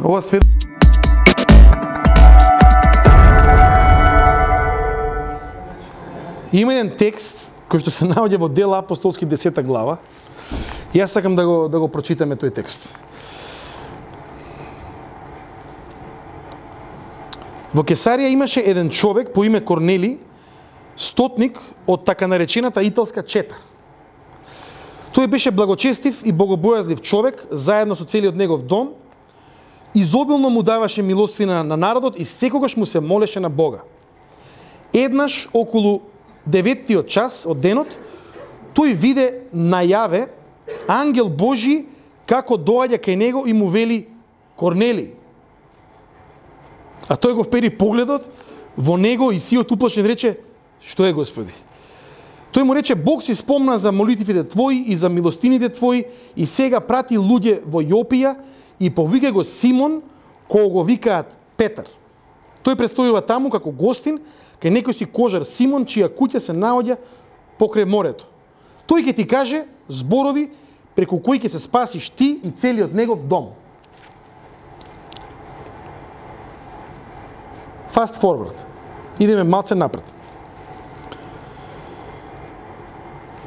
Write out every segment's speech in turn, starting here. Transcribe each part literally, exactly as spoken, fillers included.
Ова свет Има еден текст кој што се наоѓа во Дела апостолски десета глава. И јас сакам да го да го прочитаме тој текст. Во Кесарија имаше еден човек по име Корнели, стотник од така наречената италска чета. Тој беше благочестив и богобојазлив човек, заедно со целиот негов дом, изобилно му даваше милостина на народот и секогаш му се молеше на Бога. Еднаш околу деветиот час од денот, тој виде најаве ангел Божи како доаѓа кај него и му вели: Корнели. А тој го впери погледот во него и сиот уплашен рече: Што е, Господи? Тој му рече: Бог си спомна за молитвите твои и за милостините твои и сега прати луѓе во Јопија и повика го Симон, кој го викаат Петар. Тој престојува таму како гостин кај некој си кожар Симон, чија куќа се наоѓа покрај морето. Тој ќе ти каже зборови преку кои ќе се спасиш ти и целиот негов дом. Fast forward. Идеме малце напред.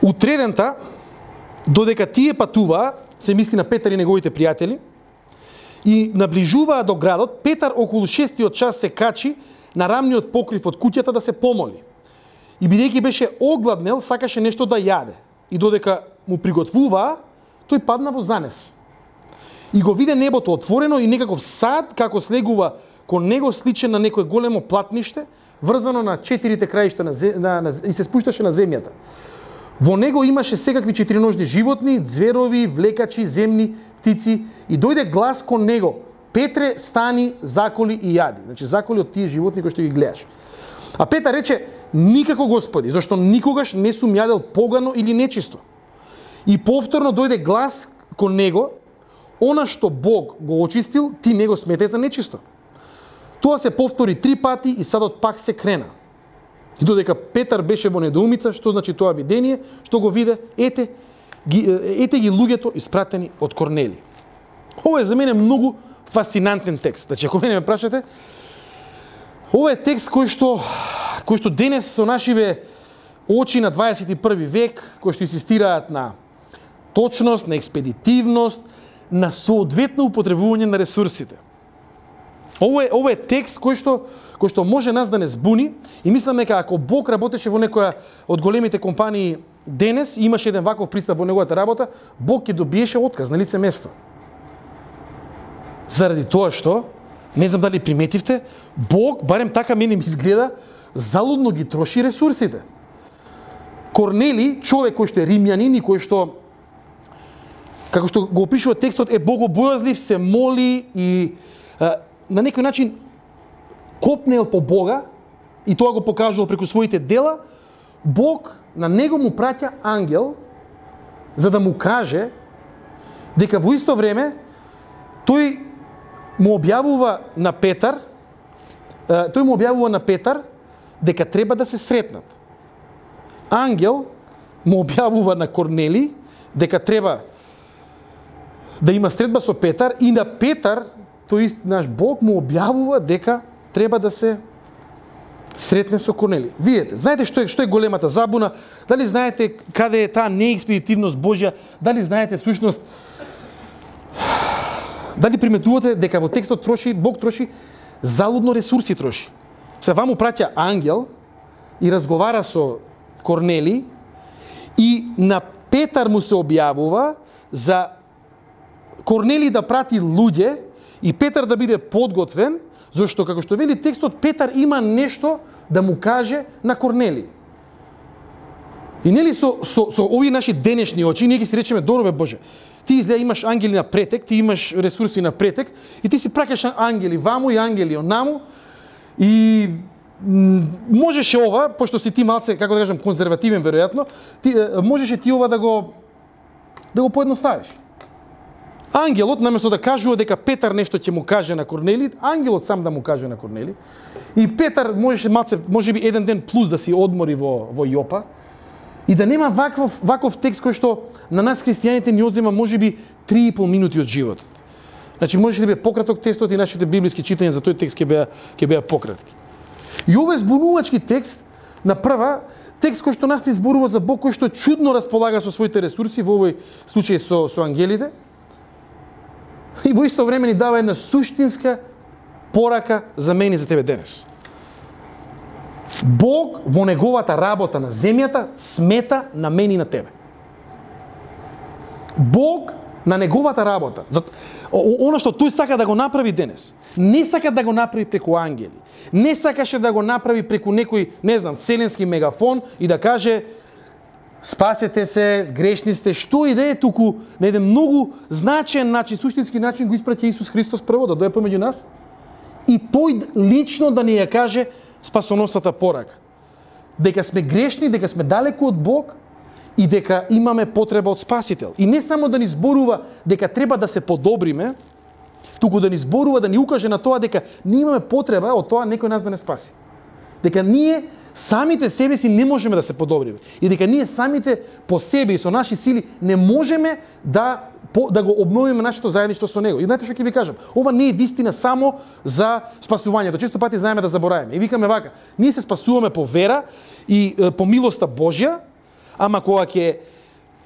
Утредента, додека тие патуваа, се мисли на Петар и неговите пријатели, и наближуваа до градот, Петар околу шестиот час се качи на рамниот покрив од куќата да се помоли. И бидејќи беше огладнел, сакаше нешто да јаде. И додека му приготвуваа, тој падна во занес. И го виде небото отворено и некаков сад како слегува кон него, сличен на некое големо платниште, врзано на четирите краишта на, на, на, и се спушташе на земјата. Во него имаше секакви четириножни животни, зверови, влекачи, земни птици, и дојде глас кон него: Петре, стани, заколи и јади. Значи, заколи од тие животни кои што ги гледаш. А Петар рече: Никако, Господи, зашто никогаш не сум јадел погано или нечисто. И повторно дојде глас кон него: Она што Бог го очистил, ти не го сметај за нечисто. Тоа се повтори три пати и садот пак се крена. И додека Петар беше во недоумица, што значи тоа видение, што го виде, ете ги, ете ги луѓето испратени од Корнели. Ова е за мене многу фасцинантен текст. Значи, ако мене ме прашате, ова е текст кој што, кој што денес со нашиве очи на дваесет и први век, кои што инсистираат на точност, на експедитивност, на соодветно употребување на ресурсите. Ова е, ова е текст кој што, кој што може нас да не збуни, и мислам дека ако Бог работеше во некоја од големите компании денес и имаше еден ваков пристап во неговата работа, Бог ќе добиеше отказ на лице место. Заради тоа што, не знам дали приметивте, Бог, барем така мене ми изгледа, залудно ги троши ресурсите. Корнели, човек кој што е римјанин и кој што, како што го опишува текстот, е богобојазлив, се моли и а, на некој начин копнел по Бога, и тоа го покажувал преку своите дела. Бог на него му праќа ангел за да му каже дека во исто време тој му објавува на Петар, тој му објавува на Петар дека треба да се сретнат. Ангел му објавува на Корнели дека треба да има средба со Петар, и на Петар тој ист наш Бог му објавува дека треба да се сретне со Корнели. Видете, знаете што е, што е големата забуна? Дали знаете каде е таа неекспедитивност Божја? Дали знаете всушност, дали приметувате дека во текстот троши, Бог троши залудно ресурси троши. Се ваму праќа ангел и разговара со Корнели, и на Петар му се објавува за Корнели да прати луѓе и Петар да биде подготвен, зашто, како што вели текстот, Петар има нешто да му каже на Корнели. И нели со, со, со овие наши денешни очи, ние ги си речеме: добро бе Боже, ти изгледа имаш ангели на претек, ти имаш ресурси на претек, и ти си праќаш ангели ваму и ангели онаму, и можеше ова, пошто си ти малце, како да кажам, конзервативен веројатно, ти можеше ти ова да го да го поедноставиш. Ангелот, наместо да кажува дека Петар нешто ќе му каже на Корнели, ангелот сам да му каже на Корнели. И Петар можеше малце, можеби еден ден плюс да си одмори во во Јопа, и да нема ваков ваков текст кој што на нас христијаните ни одзема можеби три и пол минути од животот. Значи можеше да биде пократок текстот и нашите библиски читања за тој текст ќе беа ќе беа пократки. И овој збунувачки текст на прва текст кој што нас ни зборува за Бог кој што чудно располага со своите ресурси, во овој случај со со ангелите. И во исто време ни дава една суштинска порака за мене и за тебе денес. Бог во неговата работа на земјата смета на мене и на тебе. Бог на неговата работа, оно што тој сака да го направи денес, не сака да го направи преку ангели, не сакаше да го направи преку некој, не знам, вселенски мегафон и да каже спасете се, грешни сте, што и да е, туку на еден многу значаен начин, суштински начин го испраќа Исус Христос прво да дојде помеѓу нас и тој лично да ни ја каже спасоносната порака. Дека сме грешни, дека сме далеку од Бог и дека имаме потреба од Спасител. И не само да ни зборува дека треба да се подобриме, туку да ни зборува, да ни укаже на тоа дека ние имаме потреба од тоа некој нас да не спаси. Дека ние самите себе си не можеме да се подобриме. И дека ние самите по себе и со наши сили не можеме да, по, да го обновиме нашето заедништво со Него. И знаете што ќе ви кажам? Ова не е вистина само за спасувањето. Често пати знаеме да забораваме. И викаме вака, ние се спасуваме по вера и е, по милоста Божја, ама кога ќе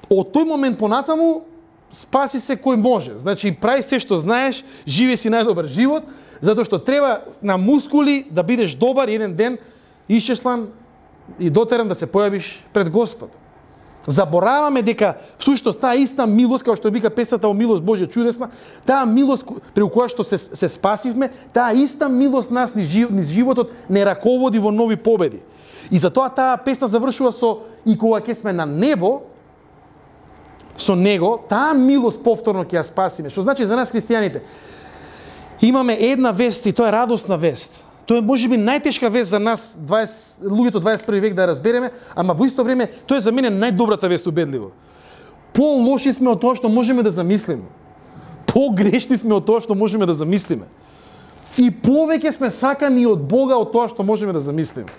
од тој момент понатаму спаси се кој може. Значи прави се што знаеш, живе си најдобар живот, затоа што треба на мускули да бидеш добар и еден ден исчеслан и дотеран да се појавиш пред Господ. Забораваме дека всушност таа иста милост, како што вика песната о милост Божја чудесна, таа милост преку која што се, се спасивме, таа иста милост нас низ животот не раководи во нови победи. И затоа таа песна завршува со и кога ќе сме на небо со Него, таа милост повторно ќе ја спасиме. Што значи за нас христијаните имаме една вест и тоа е радосна вест. Тоа е можеби најтешка вест за нас, дваесет луѓето дваесет и први век да ја разбереме, ама во исто време тоа е за мене најдобрата вест убедливо. По-лоши сме од тоа што можеме да замислиме. По-грешни сме од тоа што можеме да замислиме. И повеќе сме сакани од Бога од тоа што можеме да замислиме.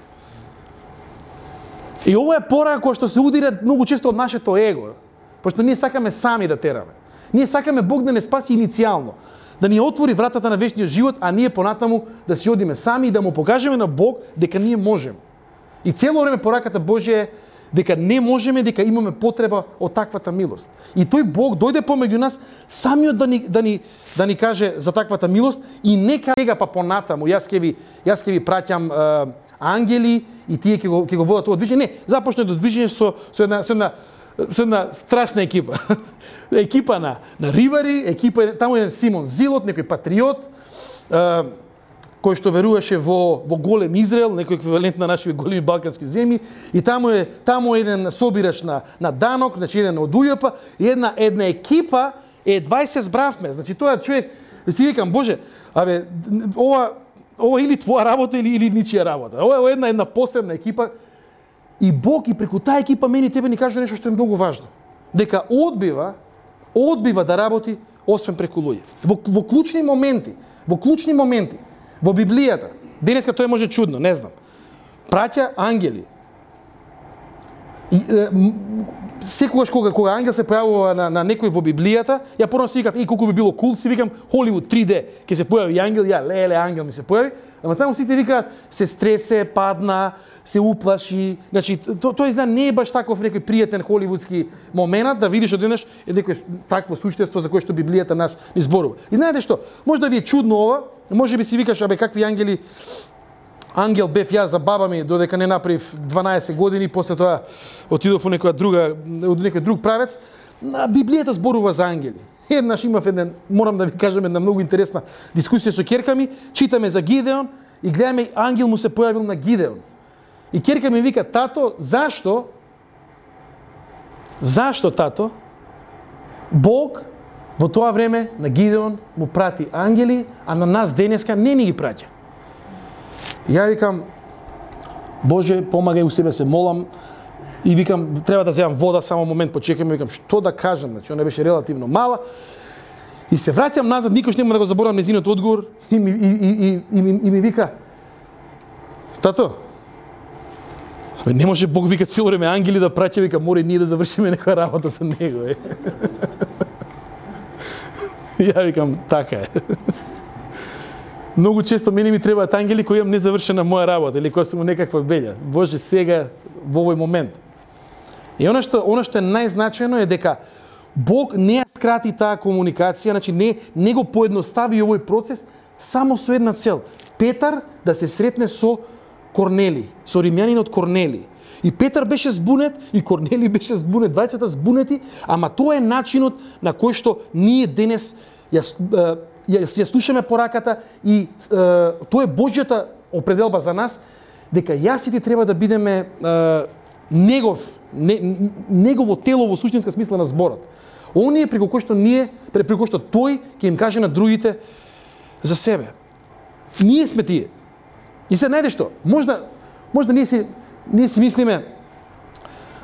И ова е порака која што се удира многу често од нашето его, пошто ние сакаме сами да тераме. Ние сакаме Бог да не спаси иницијално, да ни отвори вратата на вечниот живот, а ние понатаму да си одиме сами и да му покажеме на Бог дека ние можеме. И цело време пораката Божја е дека не можеме, дека имаме потреба од таквата милост. И тој Бог дојде помеѓу нас самиот да ни да ни да ни каже за таквата милост и нека сега па понатаму јас ќе ви јас ќе ви праќам е, ангели и тие ќе го ќе го водат тоа движење. Не, започне до движење со со една со една со една страшна екипа. екипа на на ривари, екипа таму е Симон Зилот, некој патриот, е, кој што веруваше во во голем Израел, некој еквивалент на нашите големи балкански земји, и таму е таму е еден собирач на на данок, значи еден од УЈП, и една една екипа е дваесет збравме. Значи тоа човек си викам, Боже, абе ова ова или твоја работа или или ничија работа. Ова е една една посебна екипа. И Бог и преку таа екипа мене и тебе ни кажа нешто што е многу важно. Дека одбива, одбива да работи освен преку луѓе. Во, во клучни моменти, во клучни моменти, во Библијата, денеска тоа може чудно, не знам, праќа ангели. И, е, секогаш кога, кога ангел се појавува на, на некој во Библијата, ја порано си викав, и колку би било кул, си викам, Холивуд три Д, ќе се појави ангел, ја, леле, ангел ми се појави, ама таму сите викаат, се стресе, падна, се уплаши, значи то, тоа изгледа не е баш таков некој пријатен холивудски момент да видиш одеднаш е некој такво суштество за кое што Библијата нас ни зборува. И знаете што, може да ви е чудно ова, може би си викаш абе какви ангели, ангел бев ја за баба ми додека не направив дванаесет години, после тоа отидов во некоја друга, од некој друг правец. Библијата зборува за ангели. Еднаш имав еден, морам да ви кажам, една многу интересна дискусија со ќерка ми, читаме за Гидеон и гледаме ангел му се појавил на Гидеон. И ќерка ми вика, тато, зашто, зашто, тато, Бог во тоа време на Гидеон му прати ангели, а на нас денеска не ни ги праќа? Ја викам, Боже, помагај, у себе се молам, и викам, треба да земам вода, само момент, почекам, викам, што да кажам, значи, она беше релативно мала, и се враќам назад, никош нема да го заборавам незиниот одговор, и ми, и, и, и, и, ми, и ми вика, тато, не може Бог вика цело време ангели да праќа, вика мора и ние да завршиме некоја работа со него. Е. Ја викам, така е. Многу често мене ми требаат ангели кои имам незавршена моја работа или која сум некаква белја. Боже, сега во овој момент. И она што она што е најзначајно е дека Бог не ја скрати таа комуникација, значи не не го поедностави овој процес само со една цел. Петар да се сретне со Корнели, со римјанинот Корнели. И Петар беше збунет, и Корнели беше збунет, двајцата збунети, ама тоа е начинот на кој што ние денес ја, ја, ја слушаме пораката и е, тоа е Божјата определба за нас, дека јас и ти треба да бидеме е, негов, не, негово тело во суштинска смисла на зборот. Оние преку кој што ние, преку кој што тој ќе им каже на другите за себе. Ние сме тие. И се најде што, можда, можда ние си, ние си мислиме,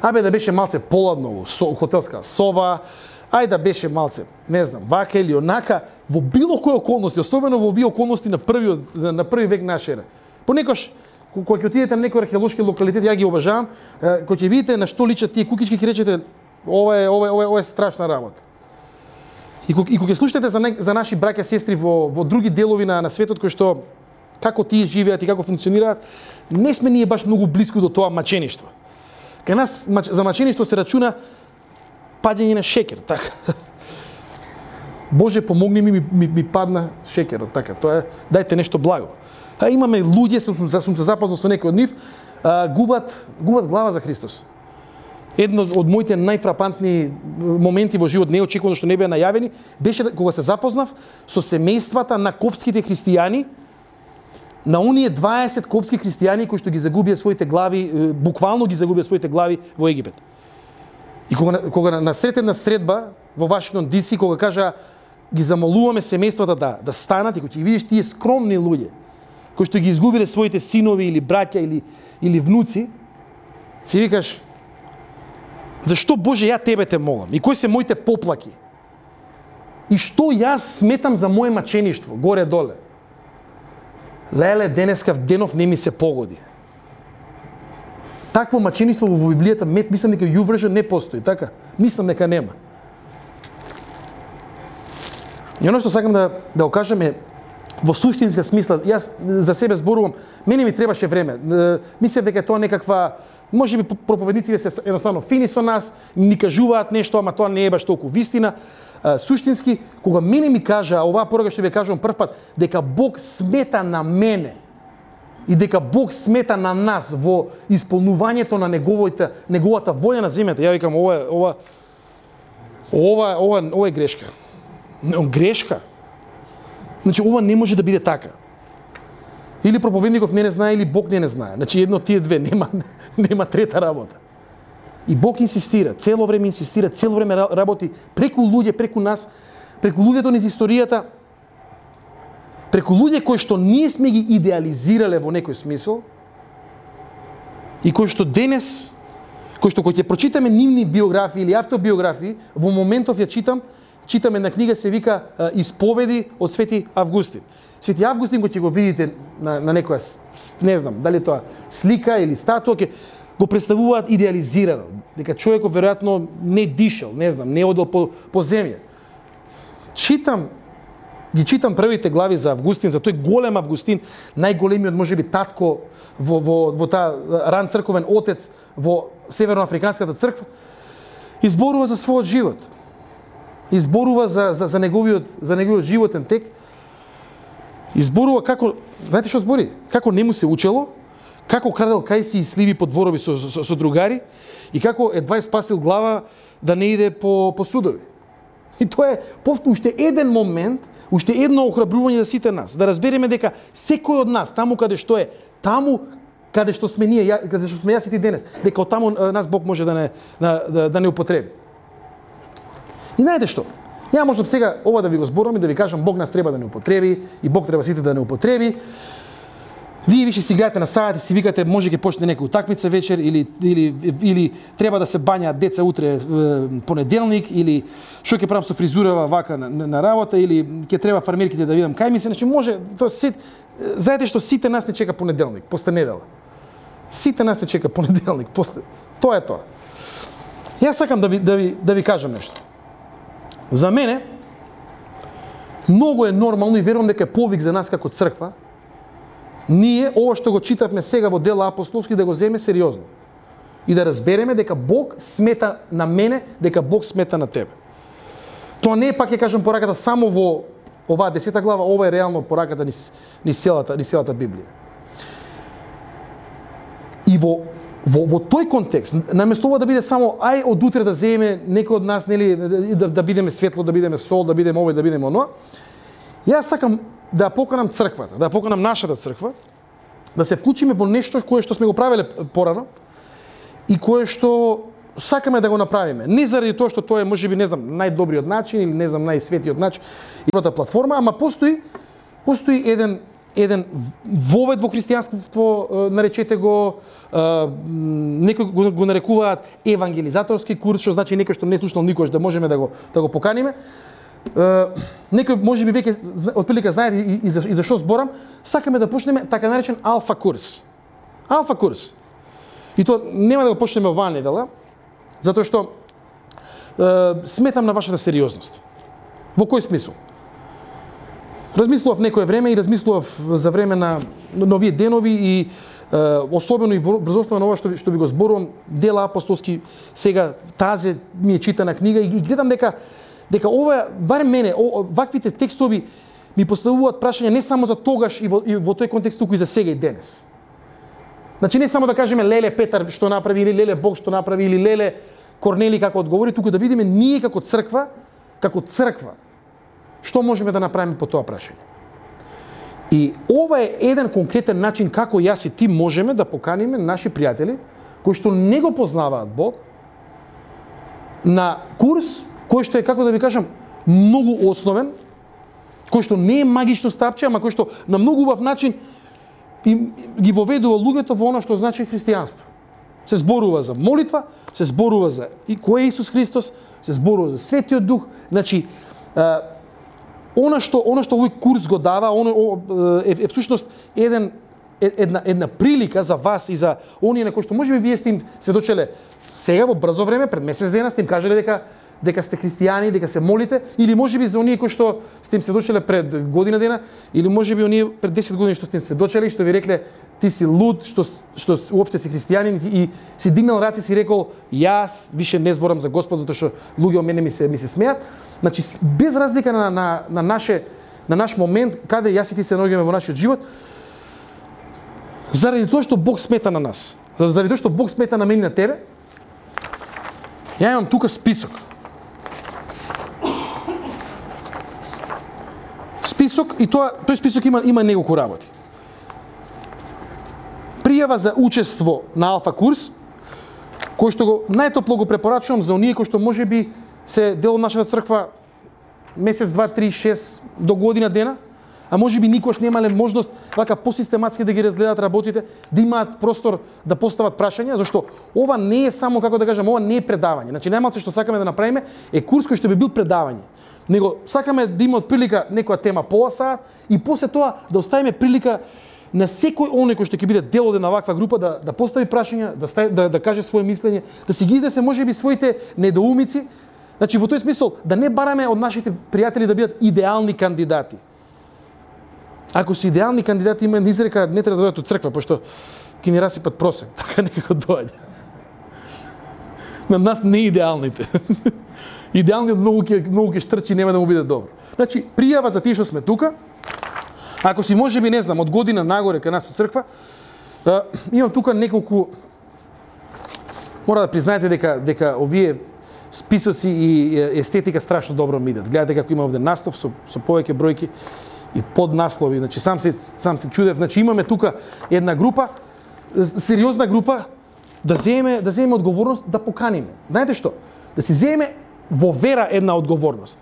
абе да беше малце поладно во со, хотелска соба, ај да беше малце, не знам, вака или онака, во било кои околности, особено во овие околности на првиот на први век наша ера. Понекогаш кога ќе отидете на некој археолошки локалитет, ја ги обожавам, кога ќе видите на што личат тие кукички, ќе речете ова е ова е ова е страшна работа. И кога и кога ќе слушате за не, за наши браќа сестри во во други делови на на светот кои што како тие живеат и како функционираат, не сме ние баш многу блиску до тоа мачеништво. Кај нас за мачеништво се рачуна падење на шекер, така. Боже, помогни ми, ми, ми, ми падна шекерот, така. Тоа е, дајте нешто благо. А имаме луѓе, сум, сум се запознал со некои од нив, а, губат, губат глава за Христос. Едно од моите најфрапантни моменти во живот, неочекувано што не беа најавени, беше кога се запознав со семејствата на копските христијани, на оние дваесет копски христијани кои што ги загубија своите глави, буквално ги загубија своите глави во Египет. И кога, кога насретена средба во Вашингтон Ди Си, кога кажа ги замолуваме семејствата да да станат, и кога ќе видиш тие скромни луѓе кои што ги изгубиле своите синови или браќа или или внуци, си викаш: зашто Боже ја тебе те молам? И кои се моите поплаки? И што јас сметам за моje мачеништво горе доле? Леле, денеска денов не ми се погоди. Такво мачеништво во Библијата, мислам дека YouVersion не постои, така? Мислам дека нема. И оно што сакам да да го кажам е во суштинска смисла, јас за себе зборувам, мене ми требаше време. Мислев дека тоа некаква, можеби проповедниците се едноставно фини со нас, ни кажуваат нешто, ама тоа не е баш толку вистина. Суштински, кога мене ми кажа, оваа порака што ви кажувам прв пат, дека Бог смета на мене и дека Бог смета на нас во исполнувањето на неговата неговата волја на земјата, ја викам ова ова ова ова ова е грешка. Грешка. Значи ова не може да биде така. Или проповедников не не знае, или Бог не не знае. Значи едно тие две, нема нема трета работа. И Бог инсистира, цело време инсистира, цело време работи преку луѓе, преку нас, преку луѓето низ историјата, преку луѓе кои што ние сме ги идеализирале во некој смисол и кои што денес, кои што кога ќе прочитаме нивни биографии или автобиографии, во моментов ја читам, читаме на книга се вика Исповеди од Свети Августин. Свети Августин, кога ќе го видите на, на некоја, не знам, дали тоа слика или статуа, ќе го представуваат идеализирано, дека човекот веројатно не дишал, не знам, не одел по, по земја. Читам, ги читам првите глави за Августин, за тој голем Августин, најголемиот можеби татко во, во, во таа ран црковен отец во Северноафриканската црква, изборува за својот живот. Изборува за, за, за, неговиот, за неговиот животен тек. Изборува како, знаете што збори? Како не му се учело, како крадел кајси и сливи по дворови со, со, со другари и како едва спасил глава да не иде по, по судови. И тоа е повторно уште еден момент, уште едно охрабрување за сите нас, да разбереме дека секој од нас, таму каде што е, таму каде што сме ние, каде што сме јас и ти денес, дека од таму нас Бог може да не, да, да, да не употреби. И знаете што? Ја можам сега ова да ви го зборам и да ви кажам Бог нас треба да не употреби и Бог треба сите да не употреби. Вие више си гледате на саат и си викате може ќе почне некоја утакмица вечер или или или треба да се бањаат деца утре е, понеделник или што ќе правам со фризурава вака на, на работа или ќе треба фармерките да видам кај ми се, значи може тоа се знаете што сите нас не чека понеделник, после недела. Сите нас не чека понеделник, после тоа е тоа. Јас сакам да ви да ви да ви кажам нешто. За мене Многу е нормално и верувам дека е повик за нас како црква, ние ова што го читавме сега во Дела апостолски да го земе сериозно. И да разбереме дека Бог смета на мене, дека Бог смета на тебе. Тоа не е, пак ќе кажам, пораката само во оваа десета глава, ова е реално пораката ни, ни селата, ни селата Библија. И во Во, во тој контекст, наместо ова да биде само ај од утре да земе некој од нас, нели, да, да бидеме светло, да бидеме сол, да бидеме овој, да бидеме оноа, јас сакам да поканам црквата, да поканам нашата црква, да се вклучиме во нешто кое што сме го правеле порано и кое што сакаме да го направиме. Не заради тоа што тоа е можеби, не знам, најдобриот начин или не знам, најсветиот начин и првата платформа, ама постои постои еден еден вовед во христијанството, наречете го, некои го нарекуваат евангелизаторски курс, што значи некој што не слушнал никош да можеме да го да го поканиме. Некој можеби веќе отприлика знаете и, и, за, и за што зборам, сакаме да почнеме така наречен алфа курс. Алфа курс. И тоа нема да го почнеме оваа недела, затоа што е, сметам на вашата сериозност. Во кој смисол? Размислував некое време и размислував за време на новие денови и е, особено и врз основа на ова што, што ви го зборувам, Дела апостолски, сега тази ми е читана книга и, и гледам дека дека ова, барем мене, о, ваквите текстови ми поставуваат прашања не само за тогаш и во, и во тој контекст, туку и за сега и денес. Значи не само да кажеме леле Петар што направи или леле Бог што направи или леле Корнели како одговори, туку да видиме ние како црква, како црква, што можеме да направиме по тоа прашање. И ова е еден конкретен начин како јас и ти можеме да поканиме наши пријатели кои што не го познаваат Бог на курс кој што е, како да ви кажам, многу основен, кој што не е магично стапче, ама кој што на многу убав начин им ги воведува луѓето во она што значи христијанство. Се зборува за молитва, се зборува за и кој е Исус Христос, се зборува за Светиот Дух, значи Она што, она што овој курс го дава, оно е, е всушност еден, една, една прилика за вас и за оние на кои што можеби вие сте им сведочеле сега во брзо време, пред месец дена сте им кажале дека дека сте христијани, дека се молите, или можеби за оние кои што сте им сведочеле пред година дена, или можеби оние пред десет години што сте им сведочеле и што ви рекле ти си луд, што што уопште си христијанин и си дигнал раце и си рекол јас више не зборам за Господ затоа што луѓе од мене ми се ми се смеат. Значи, без разлика на, на, на, наше, на наш момент, каде јас и ти се наоѓаме во нашиот живот, заради тоа што Бог смета на нас, заради тоа што Бог смета на мене и на тебе, ја имам тука список. Список, и тоа, тој список има, има неколку работи. Пријава за учество на алфа курс, кој што го најтопло го препорачувам за оние кои што можеби се дел од нашата црква месец, два, три, шест до година дена, а можеби никош немале можност вака посистематски да ги разгледаат работите, да имаат простор да постават прашања, зашто ова не е само, како да кажам, ова не е предавање. Значи најмалку што сакаме да направиме е курс кој што би бил предавање. Него сакаме да има од прилика некоја тема пола саат и после тоа да оставиме прилика на секој оној кој што ќе биде дел од една ваква група да да постави прашања, да стави, да, да каже свое мислење, да си ги изнесе можеби своите недоумици. Значи во тој смисол да не бараме од нашите пријатели да бидат идеални кандидати. Ако си идеални кандидати, има изрека не треба да дојдат од црква, пошто ќе ни расипат просек, така некако доаѓа. На нас не идеалните. Идеалниот многу ќе многу ќе штрчи, нема да му биде добро. Значи пријава за тие што сме тука. Ако си можеби не знам од година нагоре кај нас од црква, имам тука неколку. Мора да признаете дека дека овие списоци и естетика страшно добро ми идат. Гледате како има овде наслов со со повеќе бројки и поднаслови. Значи сам се сам се чудев. Значи имаме тука една група, сериозна група да земеме да земеме одговорност да поканиме. Знаете што? Да си земеме во вера една одговорност.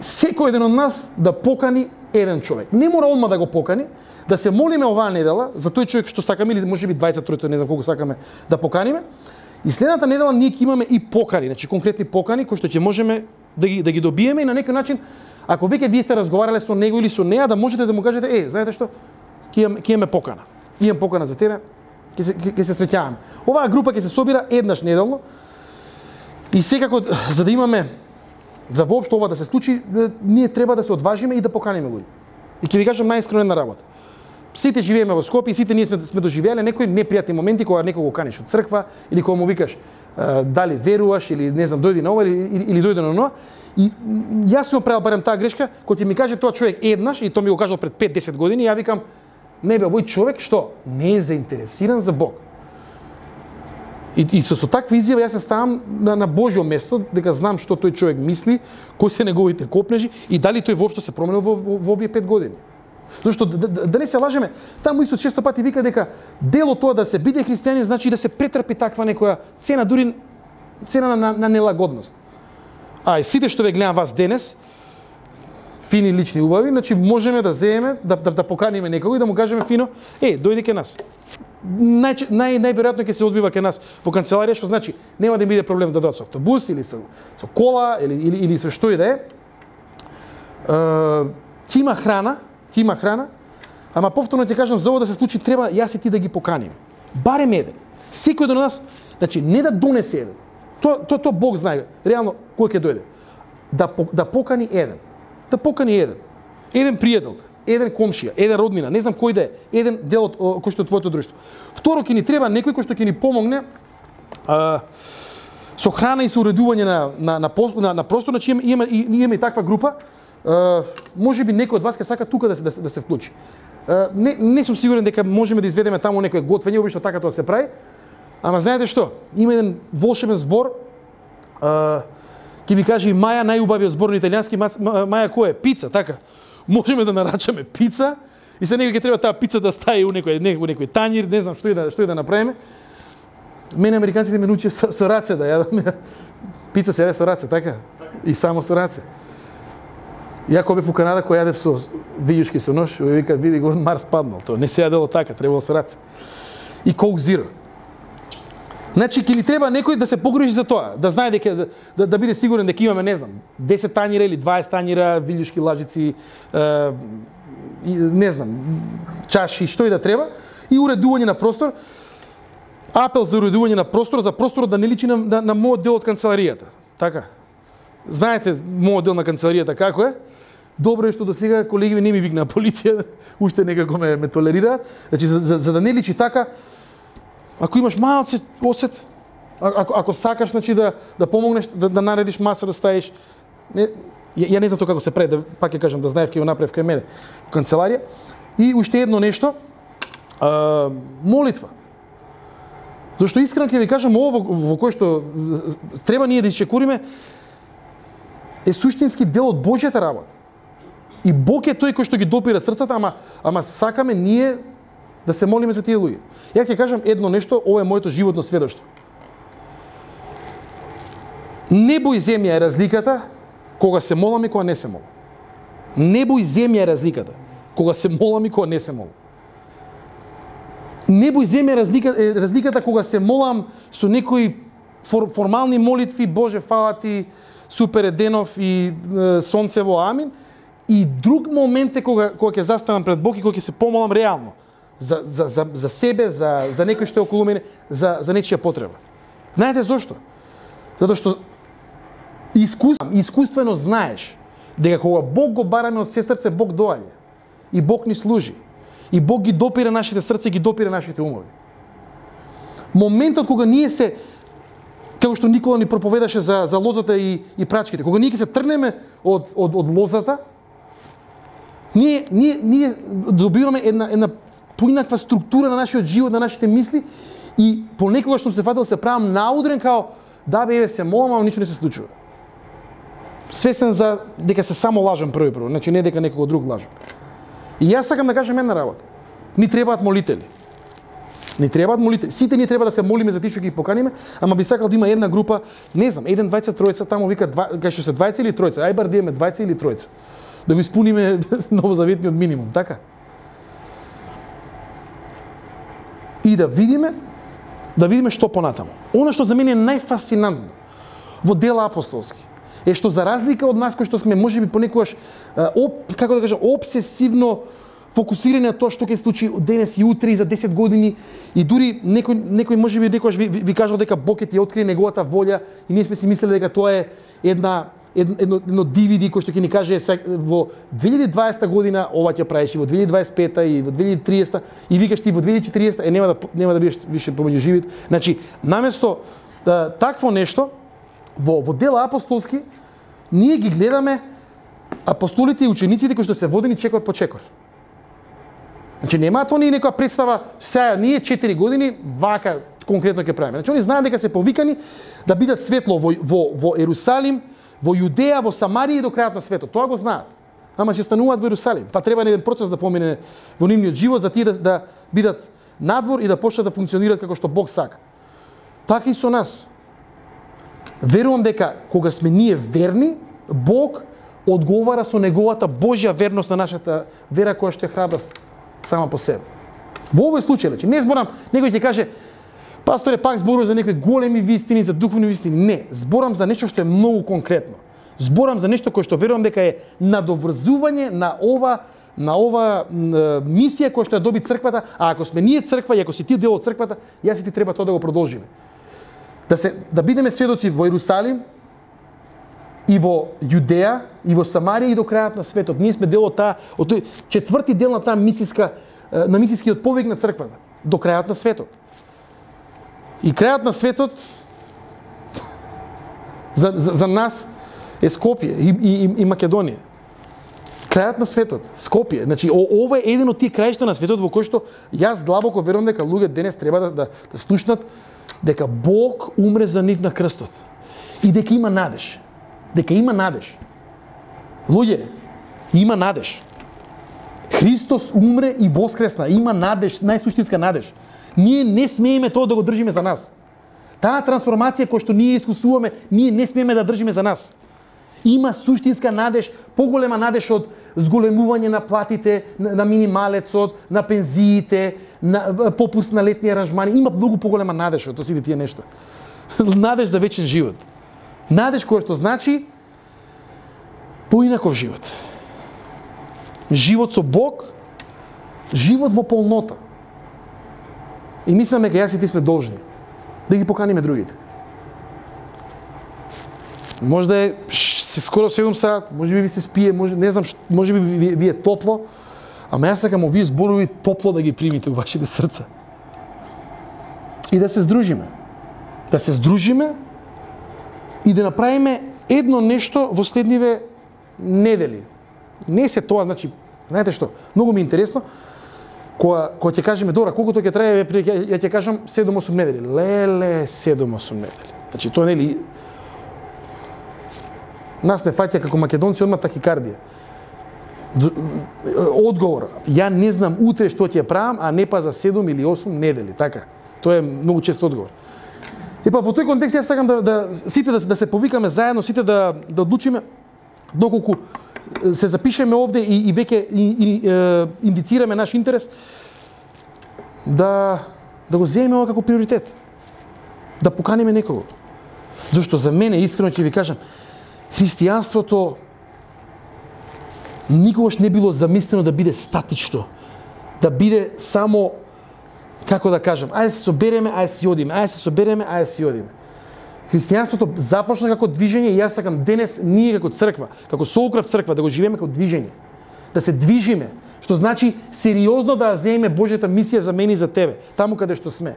Секој еден од нас да покани еден човек. Не мора одма да го покани, да се молиме оваа недела за тој човек што сакаме или можеби дваесет тројца, не знам колку сакаме да поканиме. И следната недела ние ќе имаме и покани, значи конкретни покани кои што ќе можеме да ги да ги добиеме и на некој начин, ако веќе вие сте разговарале со него или со неа, да можете да му кажете, е, знаете што, ќе имаме ќе имаме покана. Имам покана за тебе, ќе се ќе се среќаваме. Оваа група ќе се собира еднаш неделно. И секако за да имаме за воопшто ова да се случи, ние треба да се одважиме и да поканиме луѓе. И ќе ви кажам најискрено една работа. Сите живееме во Скопје и сите ние сме, сме доживеале некои непријатни моменти кога некого каниш од црква или кога му викаш дали веруваш или не знам дојди на ова или, или, или дојди на оно. И јас сум правил барем таа грешка, кога ќе ми каже тоа човек еднаш и тоа ми го кажал пред пет десет години, ја викам не бе, овој човек што не е заинтересиран за Бог. И, и со, со таква изјава јас се ставам на, на Божјо место, дека знам што тој човек мисли, кои се неговите копнежи и дали тој воопшто се променил во, во, во овие пет години. Зашто да, да, да не се лажеме, таму Исус често пати вика дека дело тоа да се биде христијанин значи да се претрпи таква некоја цена, дури цена на, на нелагодност. А и сите што ве гледам вас денес, фини лични убави, значи можеме да земеме, да, да, да поканиме некого и да му кажеме фино, е, дојди ке нас. Нај, нај, најверојатно ќе се одвива ке нас во канцеларија, што значи нема да биде проблем да дојдат со автобус или со, со кола или, или, или со што и да е. Ќе има храна, ќе има храна, ама повторно ќе кажам, за ова да се случи треба јас и ти да ги поканим. Барем еден. Секој од нас, значи не да донесе еден. Тоа то, то Бог знае, реално кој ќе дојде. Да да покани еден. Да покани еден. Еден пријател, еден комшија, еден роднина, не знам кој да е, еден дел од кој што е твоето друштво. Второ, ќе ни треба некој кој што ќе ни помогне а, со храна и со уредување на на на, на, на простор, значи имаме имаме имаме и таква група. Uh, може би некој од вас ќе сака тука да се да се, да се вклучи. Uh, не не сум сигурен дека можеме да изведеме таму некој готвење, обично така тоа се прави. Ама знаете што? Има еден волшебен збор. Uh, ќе ви каже и Маја, најубавиот збор на италијански. Маја кој е? Пица, така. Можеме да нарачаме пица и се некој ќе треба таа пица да стаи у некој некој некој тањир, не знам што и да што и да направиме. Мене американците ме научија со, со раце да јадам. Пица се јаде со раце, така? И само со раце. Ја кога бев у Канада, кој јадев со вијушки со нож, и вика, види го, Марс паднал. Тоа не се јадело така, требало со раце. И Coke Zero. Значи, ќе ни треба некој да се погрижи за тоа, да знае дека да, да, да биде сигурен дека имаме, не знам, десет тањира или дваесет тањира, вијушки, лажици, е, не знам, чаши, што и да треба, и уредување на простор. Апел за уредување на простор, за просторот да не личи на, на, на мојот дел од канцеларијата. Така. Знаете мојот дел на канцеларијата како е? Добро е што до сега колеги не ми викнаа полиција, уште некако ме, ме толерираат. Значи за, за, за да не личи така, ако имаш малце осет, ако ако сакаш значи да да помогнеш да, да наредиш маса да ставиш, не, ја, ја не знам тоа како се прави, да пак ќе кажам да знаев ќе го направев кај мене канцеларија. И уште едно нешто, а, молитва. Зашто искрено ќе ви кажам ово во, во кој што треба ние да исчекуриме е суштински дел од Божјата работа. И Бог е тој кој што ги допира срцата, ама ама сакаме ние да се молиме за тие луѓе. Ја ќе кажам едно нешто, ова е моето животно сведоштво. Небо и земја е разликата кога се молам и кога не се молам. Небо и земја е разликата кога се молам и кога не се молам. Небо и земја е разликата, е разликата кога се молам со некои фор, формални молитви, Боже фала ти, супер е денов и е, сонцево амин. И друг момент е кога кога ќе застанам пред Бог и кога ќе се помолам реално за за за за себе, за за некој што е околу мене, за за нечија потреба. Знаете зошто? Затоа што искуствено, искуствено знаеш дека кога Бог го бараме од сестрце, Бог доаѓа. И Бог ни служи. И Бог ги допира нашите срца и ги допира нашите умови. Моментот кога ние се, како што Никола ни проповедаше за за лозата и и прачките, кога ние ќе се трнеме од од од лозата, ние ние ние добиваме една една поинаква структура на нашиот живот, на нашите мисли и понекогаш што се фатил се правам наудрен као да бе се молам, ама ништо не се случува. Свесен за дека се само лажам први прво, значи не дека некого друг лажам. И јас сакам да кажам една работа. Ни требаат молители. Ни требаат молители. Сите ние треба да се молиме за тие што ги поканиме, ама би сакал да има една група, не знам, еден, двајца, тројца, таму вика кај што се двајца или тројца, ај бар да имаме двајца или тројца. Да го испуниме новозаветниот минимум, така? И да видиме, да видиме што понатаму. Она што за мене е најфасцинантно во дела апостолски е што за разлика од нас кои што сме можеби понекогаш оп, како да кажам, обсесивно фокусирани на тоа што ќе случи денес и утре и за десет години и дури некој некој можеби некогаш ви, ви, ви кажал дека Бог ќе ти открие неговата волја и ние сме си мислеле дека тоа е една едно, едно, едно ди ви ди кој што ќе ни каже во две илјади и дваесета година ова ќе правиш, и во две илјади и дваесет и пета и во две илјади и триесета и викаш ти во две илјади и четириесета е нема да нема да бидеш више помеѓу живите. Значи, наместо да, такво нешто во во дела апостолски ние ги гледаме апостолите и учениците кои што се водени чекор по чекор. Значи немаат они некоја представа сега ние четири години вака конкретно ќе правиме. Значи они знаат дека се повикани да бидат светло во во во Ерусалим, во Јудеја, во Самарија и до крајот на светот. Тоа го знаат. Ама ќе остануваат во Ерусалим. Па треба еден процес да помине во нивниот живот за тие да, да бидат надвор и да почнат да функционираат како што Бог сака. Така и со нас. Верувам дека кога сме ние верни, Бог одговара со неговата Божја верност на нашата вера која што е храбра сама по себе. Во овој случај, значи не зборам, некој ќе каже пасторе пак зборува за некои големи вистини, за духовни вистини. Не, зборам за нешто што е многу конкретно. Зборам за нешто кое што верувам дека е надоврзување на ова на ова мисија која што ја доби црквата, а ако сме ние црква и ако си ти дел од црквата, јас и ти треба тоа да го продолжиме. Да се да бидеме сведоци во Ерусалим и во Јудеја и во Самарија и до крајот на светот. Ние сме дел од таа од тој четврти дел на таа мисиска на мисискиот повик на црквата до крајот на светот. И крајот на светот за, за, за нас е Скопје и, и, и Македонија. Крајот на светот, Скопје. Значи, ова е еден од тие краишта на светот во кој што јас длабоко верувам дека луѓе денес треба да, да, да слушнат дека Бог умре за нив на крстот. И дека има надеж. Дека има надеж. Луѓе, има надеж. Христос умре и воскресна. Има надеж, најсуштинска надеж. Ние не смееме тоа да го држиме за нас. Таа трансформација која што ние искусуваме, ние не смееме да држиме за нас. Има суштинска надеж, поголема надеж од зголемување на платите, на минималецот, на пензиите, на попуст на летни аранжмани. Има многу поголема надеж од сите тие нешта. Надеж за вечен живот. Надеж која што значи поинаков живот. Живот со Бог, живот во полнота. И мислам дека јас и ти сме должни да ги поканиме другите. Може да е се скоро седум саат, може би ви се спие, може не знам, може би ви, ви е топло, ама јас сакам овие зборови топло да ги примите во вашите срца. И да се здружиме. Да се здружиме и да направиме едно нешто во следниве недели. Не се тоа, значи, знаете што, многу ми е интересно, кога кога ќе кажеме добро, колку тоа ќе трае, ја ќе кажам седум-осум недели. Леле, седум-осум недели. Значи тоа нели нас не фаќа како македонци одма тахикардија. Одговор, ја не знам утре што ќе правам, а не па за седум или осум недели, така. Тоа е многу чест одговор. И па во тој контекст јас сакам да, да сите да, да се повикаме заедно, сите да да одлучиме доколку се запишеме овде и, и веќе и, и, е, индицираме наш интерес да да го земеме ова како приоритет. Да поканиме некого. Зашто за мене искрено ќе ви кажам, христијанството никогаш не било замислено да биде статично, да биде само, како да кажам, ајде се собереме, ајде се одиме, ајде се собереме, ајде се одиме. Христијанството започна како движење и јас сакам денес ние како црква, како Солкрав црква да го живееме како движење. Да се движиме, што значи сериозно да земеме Божјата мисија за мене и за тебе, таму каде што сме.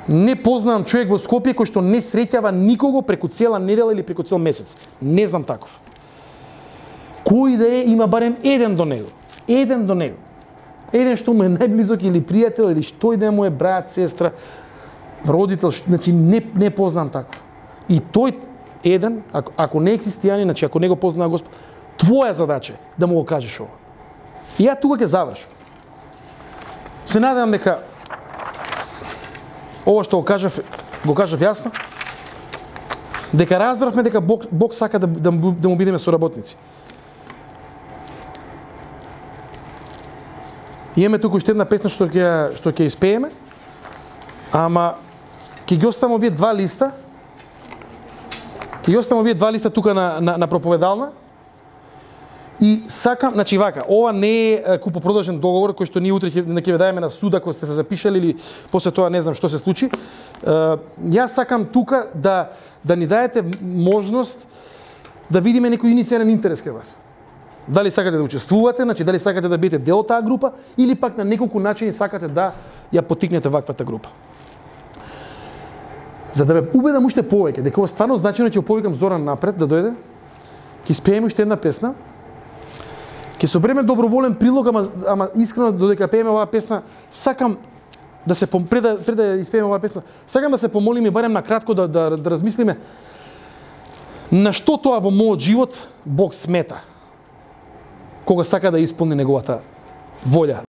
Не познавам човек во Скопје кој што не среќава никого преку цела недела или преку цел месец. Не знам таков. Кој да е, има барем еден до него. Еден до него. Еден што му е најблизок или пријател или што и да му е брат, сестра, родител, значи не не познам таков. И тој еден, ако, ако не е христијанин, значи ако не го познава Господ, твоја задача е да му го кажеш ова. И ја тука ќе завршам. Се надевам дека ова што го кажав, го кажав јасно, дека разбравме дека Бог, Бог сака да, да, да му бидеме соработници. Имаме туку уште една песна што ќе што ќе испееме, ама ќе ги оставам овие два листа. Ќе ги оставам овие два листа тука на на, на проповедална. И сакам, значи вака, ова не е купопродажен договор кој што ние утре ќе ќе ве даеме на суд ако сте се запишали или после тоа не знам што се случи. Јас сакам тука да да ни даете можност да видиме некој иницијален интерес кај вас. Дали сакате да учествувате, значи дали сакате да бидете дел од таа група или пак на неколку начини сакате да ја поттикнете ваквата група. За да ме убедам уште повеќе дека ова стварно значено, ќе повикам Зоран напред да дојде. Ќе спееме уште една песна. Ќе собереме доброволен прилог, ама, ама искрено додека пееме оваа песна, сакам да се пред да, пред да испееме оваа песна, сакам да се помолиме барем на кратко да, да, да размислиме на што тоа во мојот живот Бог смета кога сака да исполни неговата волја.